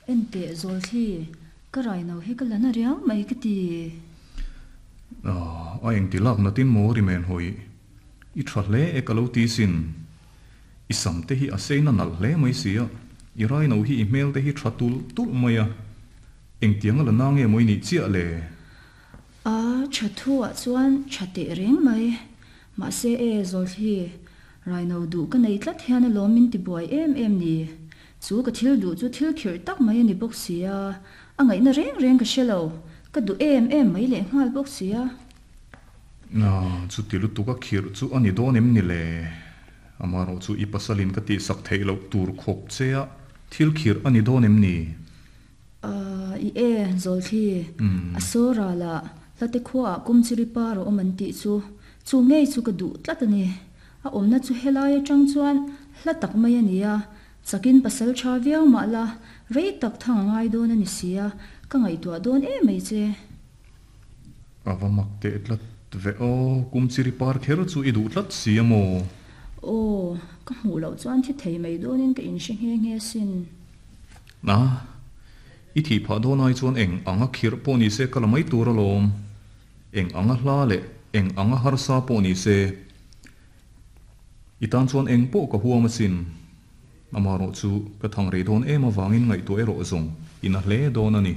Enteh Zawlthli, ka raino hi ka la na riau mai ka ti. Ah, a engti lak natin maw ri men hawi. I tha hle e ka lo ti sin. I sam te hi a sei na nalh hle mai sia, i raino hi i hmel te hi tha tulh tulh mai a. Engtiang a la na nge maw i nih chiah le? A tha thu ah chuan tha teh reng mai. Mahse e Zawlthli, raino duh ka nei tlat hian alawm min ti buai em em ni. Chu ka thil duh chu thil khirh tak mai a ni bawk si a, a ngaihna reng reng ka hre lo, ka duh em em mai leh nghal bawk si a. Aw, chuti lutuk a khirh chu a ni dawn em ni le? Amaherawh chu i pasalin ka tihsak theih loh tur khawp che a thil khirh a ni dawn em ni? Aw, i e, Zawlthli, a saw ralah hlate khuaah Kumchiri par a awm an tih chu, chu ngei chu ka duh tlat a ni. A awmna chu helai atang chuan hla tak mai a ni a, chakin pasal tha viau mah la, rei tak thang a ngai dawn a ni si a, ka ngaihtuah dawn em mai che. A va mak teh tlat ve aw, kum chiri par kher chu i duh tlat si a maw? Aw, ka hmuh loh chuan thi thei mai dawnin ka inhre nghe nghe sin. Na, i thih phah dawn ai chuan eng anga khirh pawh ni se ka la mai tur alawm. Eng anga hla leh eng anga harsa pawh ni se, i tan chuan eng pawh ka huam asin. Amaherawh chu ka thang rei dawn em avangin ngaihtuah erawh zawng i na hle dawn a ni.